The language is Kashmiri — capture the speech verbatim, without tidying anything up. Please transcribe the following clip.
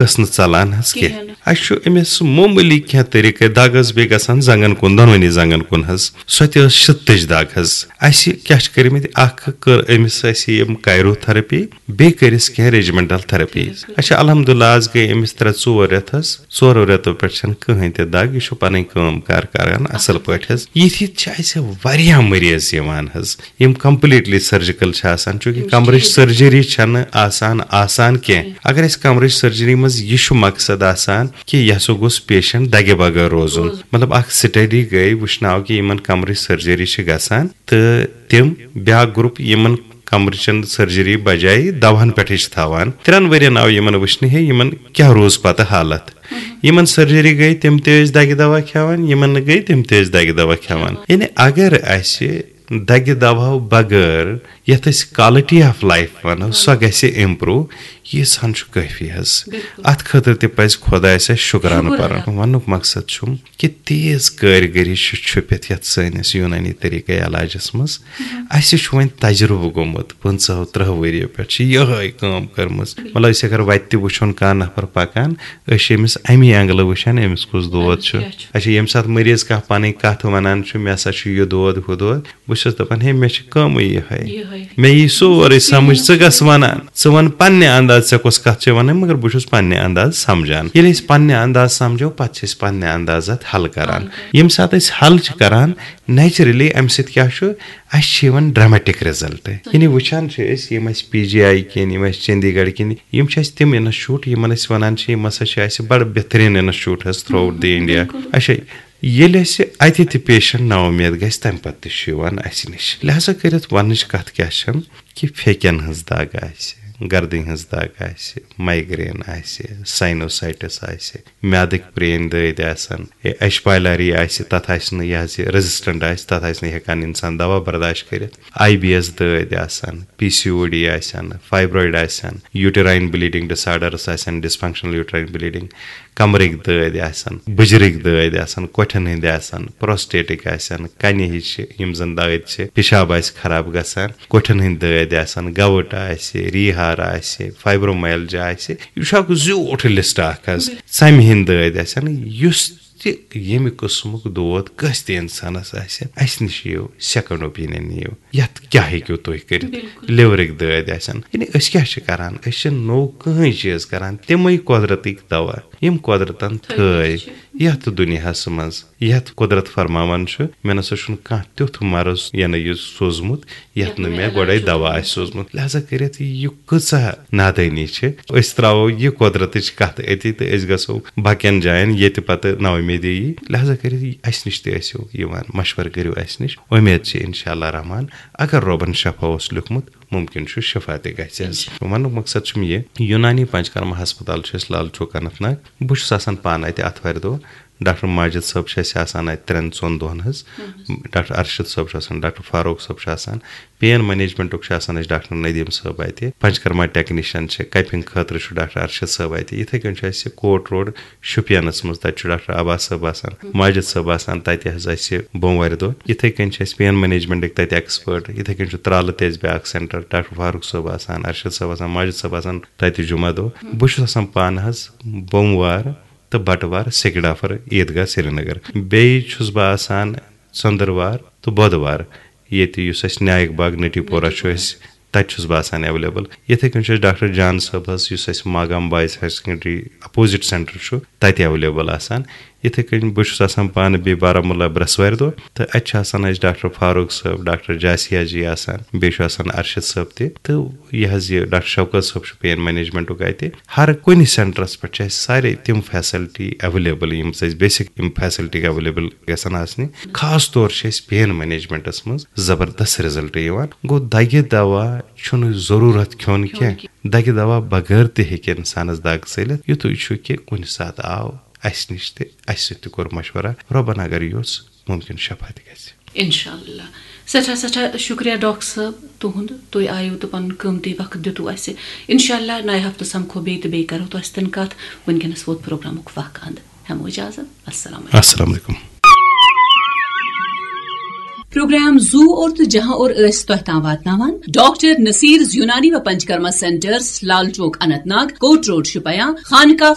ٲس نہٕ ژلان حظ کینٛہہ۔ کِہیٖنۍ نہٕ۔ اَسہِ چھُ أمِس معموٗلی کینٛہہ طریٖقہٕ، دَگ ٲس بیٚیہِ گژھان زنٛگن کُن، دۄنوٕنی زنٛگن کُن حظ، سۄ تہِ ٲس شِتٕچ دَگ حظ۔ اَسہِ کیٛاہ چھِ کٔرمٕتۍ، اَکھ کٔر أمِس اَسہِ یِم کایروتھرپی، بیٚیہِ کٔرِس کینٛہہ ریجمنٹل تھرپی۔ بِلکُل۔ اچھا، الحمدللہ، آز گٔے أمِس ترٛےٚ ژور رٮ۪تھ حظ، ژورو رٮ۪تو پٮ۪ٹھ چھَنہٕ کٕہٕنۍ تہِ دَگ، یہِ چھُ پَنٕنۍ کٲم کار کران اَصٕل پٲٹھۍ حظ۔ یِتھۍ یِتھۍ چھِ اَسہِ واریاہ مریض یِوان حظ، یِم کمپلیٖٹلی سٔرجِکل چھِ آسان، چوٗنٛکہِ کمرٕچ سٔرجری چھَنہٕ آسان آسان کینٛہہ۔ اگر أسۍ کمرٕچ سٔرجری منٛز یہِ چھُ مقصد آسان کہِ یہِ ہسا گوٚژھ پیشنٹ دَگہِ بغٲر روزُن۔ مطلب، اکھ سٹڈی گٔے، وٕچھناو کہِ یِمن کمرٕچ سٔرجری چھِ گژھان تہٕ تِم بیٛاکھ گروپ یِمن کمرٕچن سٔرجری بجایہِ دواہن پٮ۪ٹھٕے چھِ تھاوان۔ ترٛٮ۪ن ؤرین آو یِمن وٕچھنہٕ ہے یِمن کیٛاہ روٗز پتہٕ حالت۔ یِمن سٔرجری گٔے، تِم تہِ ٲسۍ دَگہِ دوا کھٮ۪وان، یِمن نہٕ گٔے، تِم تہِ ٲسۍ دَگہِ دوا کھٮ۪وان۔ یعنی اگر اَسہِ دَگہِ دواہو بغٲر یَتھ أسۍ quality of life وَنو، سۄ گژھِ improve، ییٖژ ہن چھُ کٲفی حظ۔ بِلکُل۔ اَتھ خٲطرٕ تہِ پَزِ خۄدایَس اَسہِ شُکرانہٕ شُکُر پَرُن۔ ادا۔ وَنُک مقصد چھُم کہِ تیز کٲرگٔری چھِ چھُپِتھ یَتھ سٲنِس یوٗنٲنی طریٖقے علاجَس منٛز۔ اَسہِ چھُ وۄنۍ تجرُبہٕ گوٚمُت، پٕنٛژٕہو تٕرٛہو ؤرِیو پٮ۪ٹھ چھِ یِہوٚے کٲم کٔرمٕژ۔ مطلب، أسۍ اگر وَتہِ تہِ وٕچھون کانٛہہ نفر پَکان، أسۍ چھِ أمِس اَمی اینٛگلہٕ وٕچھان، أمِس کُس دود چھُ۔ کیٛاہ چھُ؟ اچھا، ییٚمہِ ساتہٕ مریض کانٛہہ پَنٕنۍ کَتھ وَنان چھُ، "مےٚ ہسا چھُ یہِ دود، ہُہ دود"، بہٕ چھُس دَپان، "ہے، مےٚ چھِ کٲمٕے یِہوٚے۔ یِہوٚے۔ مےٚ یی سورُے سَمٕجھ، ژٕ کَس وَنان؟ ژٕ وَن پنٛنہِ انداز، ژےٚ کۄس کَتھ چھےٚ وَنٕنۍ، مگر بہٕ چھُس پنٛنہِ انداز سَمجھان۔" ییٚلہِ أسۍ پنٛنہِ انداز سَمجھو، پَتہٕ چھِ أسۍ پنٛنہِ انداز اَتھ حل کَران۔ حل کَران۔ ییٚمہِ ساتہٕ أسۍ حل چھِ کَران، نیچرلی اَمہِ سۭتۍ کیٛاہ چھُ، اَسہِ چھِ یِوان ڈرامیٹک رِزلٹ۔ یعنی وٕچھان چھِ أسۍ، یِم اَسہِ پی جی آی کِنۍ، یِم اَسہِ چندی گڑھ کِنۍ، یِم چھِ اَسہِ تِم انسٹیٹیوٹ، یِمن أسۍ وَنان چھِ، یِم ہسا چھِ اَسہِ بڑٕ بہتریٖن انسٹیٹیوٹ حظ تھرٛوٗ آوُٹ دی انڈیا۔ بِلکُل۔ اچھا، ییٚلہِ اَسہِ اَتہِ تہِ پیشنٹ نااُمید گژھِ، تَمہِ پَتہٕ تہِ چھُ یِوان اَسہِ نِش۔ لہذا کٔرِتھ وَننٕچ کَتھ کیٛاہ چھَم کہِ پھیکٮ۪ن ہٕنٛز دَگ آسہِ، گردنہِ ہٕنٛز دَگ آسہِ، مایگرین آسہِ، ساینوسائٹس آسہِ، میادٕکۍ پرٛٲنۍ دٲدۍ آسَن، اے، ایچ پایلاری آسہِ، تَتھ آسہِ نہٕ، یہِ حظ یہِ ریزسٹنٹ آسہِ، تَتھ آسہِ نہٕ ہٮ۪کان اِنسان دوا برداشت کٔرِتھ۔ آی بی ایس دٲدۍ آسَن، پی سی او ڈی آسَن، فائبرائڈ آسَن، uterine bleeding disorders آسَن، ڈسفنکشنل uterine bleeding، کمرٕکۍ دٲدۍ آسَن، بٕجرٕکۍ دٲدۍ آسَن، کۄٹھٮ۪ن ہٕنٛدۍ آسَن، پروسٹیٹٕکۍ آسَن، کَنہِ ہِش چھِ، یِم زَن دٲدۍ چھِ، پِشاب آسہِ خراب گژھان، کۄٹھٮ۪ن ہٕنٛدۍ دٲدۍ آسَن، گوُٹ آسہِ، ریٖہار آسہِ، فائبرومائلجیا آسہِ، یہِ چھُ اکھ زیوٗٹھ لسٹ اکھ حظ۔ ژَمہِ ہٕنٛدۍ دٲدۍ آسَن، یُس تہِ ییٚمہِ قٕسمُک دود کٲنٛسہِ تہِ اِنسانَس آسہِ، اَسہِ نِش یِیِو، سیکنڈ اوپینین نِیِو، یَتھ کیٛاہ ہیٚکِو تُہۍ کٔرِتھ؟ بِلکُل۔ لِورٕکۍ دٲدۍ آسَن۔ یعنی أسۍ کیٛاہ چھِ کَران؟ أسۍ چھِ نوٚو کٕہٕنۍ چیٖز کَران، تِمَے قۄدرَتٕکۍ دَوا، یِم قۄدرَتَن تھٲے تھٲے چھِ۔ یَتھ دُنیاہَس منٛز، یَتھ قۄدرَت فرماوان چھُ، مےٚ نہ سا چھُنہٕ کانٛہہ تیُتھ مرض یَنہٕ یہِ سوٗزمُت، یَتھ یَتھ نہٕ نہٕ مےٚ علاج گۄڈَے اوس دَوا آسہِ سوٗزمُت۔ لہذا کٔرِتھ یہِ کۭژاہ نادٲنی چھِ۔ أسۍ ترٛاوو یہِ قۄدرتٕچ کَتھ أتی تہٕ أسۍ گژھو باقین جاین، ییٚتہِ پَتہٕ نااُمیدی یی۔ لہذا کٔرِتھ اَسہِ نِش تہِ ٲسِو یِوان، مشورٕ کٔرِو اَسہِ نِش۔ اُمید چھِ انشاءاللہ رحمان، اگر رۄبن شفا اوس لیوٗکھمُت، مُمکِن چھُ شفا تہِ گژھِ حظ۔ انشاءاللہ۔ وَنُک مقصد چھُم یہِ، یوٗنانی پنچکرما ہسپتال چھُ اَسہِ لال چوک اننت ناگ۔ بہٕ چھُس آسان پانہٕ اَتہِ آتھوارِ دۄہ۔ ڈاکٹر ماجد صٲب چھِ اَسہِ آسان اَتہِ ترٛٮ۪ن ژۄن دۄہَن حظ۔ ڈاکٹر ارشد صٲب چھُ آسان، ڈاکٹر فاروق صٲب چھُ آسان، پین مینجمنٹُک چھُ آسان اَسہِ ڈاکٹر ندیم صٲب اَتہِ، پنچکرما ٹیکنیشن چھِ، کَپِنگ خٲطرٕ چھُ ڈاکٹر ارشد صٲب اَتہِ، یِتھَے کٔنۍ چھُ اَسہِ کوٹ روڈ شُپینَس منٛز، تَتہِ چھُ ڈاکٹر عباس صٲب آسان، ماجد صٲب آسان تَتہِ حظ اَسہِ بوموارِ دۄہ۔ یِتھَے کٔنۍ چھِ اَسہِ پین مینجمنٹٕکۍ تَتہِ ایکسپٲرٹ، یِتھَے کٔنۍ چھُ ترٛالہٕ تہِ اَسہِ بیٛاکھ سینٹر، ڈاکٹر فاروق صٲب آسان، ارشد صٲب آسان، ماجد صٲب آسان تَتہِ جمعہ دۄہ۔ بہٕ چھُس آسان پانہٕ حظ بوموار تہٕ بٹوار سیکڈافر عیٖدگاہ سرینگر۔ بیٚیہِ چھُس بہٕ آسان ژٔنٛدٕروار تہٕ بۄدوار ییٚتہِ، یُس اَسہِ نایک باغ نٹی پورہ چھُ، اَسہِ تَتہِ چھُس بہٕ آسان ایویلیبل۔ یِتھَے کٔنۍ چھُ اَسہِ ڈاکٹر جان صٲب حظ، یُس اَسہِ Magam boys higher secondary opposite centre چھُ، تَتہِ ایویلیبل آسان۔ یِتھَے کٔنۍ بہٕ چھُس آسان پانہٕ بیٚیہِ بارہمولہ برٛٮ۪سوارِ دۄہ، تہٕ اَتہِ چھِ آسان اَسہِ ڈاکٹر فاروق صٲب، ڈاکٹر جاسیا جی آسان، بیٚیہِ چھُ آسان ارشد صٲب تہِ، تہٕ یہِ حظ یہِ ڈاکٹر شوکت صٲب چھُ پین مینجمنٹُک اَتہِ۔ ہر کُنہِ سینٹرس پٮ۪ٹھ چھِ اَسہِ سارے تِم فیسلٹی ایویلیبل، یِم اَسہِ بیسک یِم فیسلٹی ایویلیبل گژھن آسنہِ۔ خاص طور چھِ اَسہِ پین مینجمنٹس منٛز زبردست رِزلٹ یِوان۔ گوٚو، دَگہِ دوا چھُنہٕ ضروٗرت کھیوٚن کھیوٚن کینٛہہ۔ کینٛہہ۔ دَگہِ دوا بغٲر تہِ ہیٚکہِ اِنسانس دَگ ژٔلِتھ۔ یِتُے چھُ کہِ کُنہِ ساتہٕ آو اَسہِ نِش تہٕ اَسہِ سۭتۍ تہِ کوٚر مشورہ۔ رۄبن اگر یوٚژھ، مُمکِن شفا تہِ گژھِ۔ انشاءاللہ۔ سٮ۪ٹھاہ، سٮ۪ٹھاہ شُکریہ ڈاکٹر صٲب تُہُنٛد، تُہۍ آیِو تہٕ پَنُن قۭمتی وقت دیُتوٕ اَسہِ۔ انشاءاللہ نَیہِ ہفتہٕ سَمکھو بیٚیہِ تہٕ بیٚیہِ کَرو تۄہہِ سۭتۍ کَتھ۔ وٕنکیٚنَس ووت پروگرامُک وق اَنٛد۔ ہٮ۪مو اِجازت۔ السلام علیکم۔ السلام علیکم۔ پروگرام زو اور تہٕ جہاں اور ٲسۍ تۄہہِ تام واتناوان ڈاکٹر نصیر یونانی و پنچکرما سینٹرز، لال چوک اننت ناگ، کوٹ روڈ شوپیاں، خانقاہ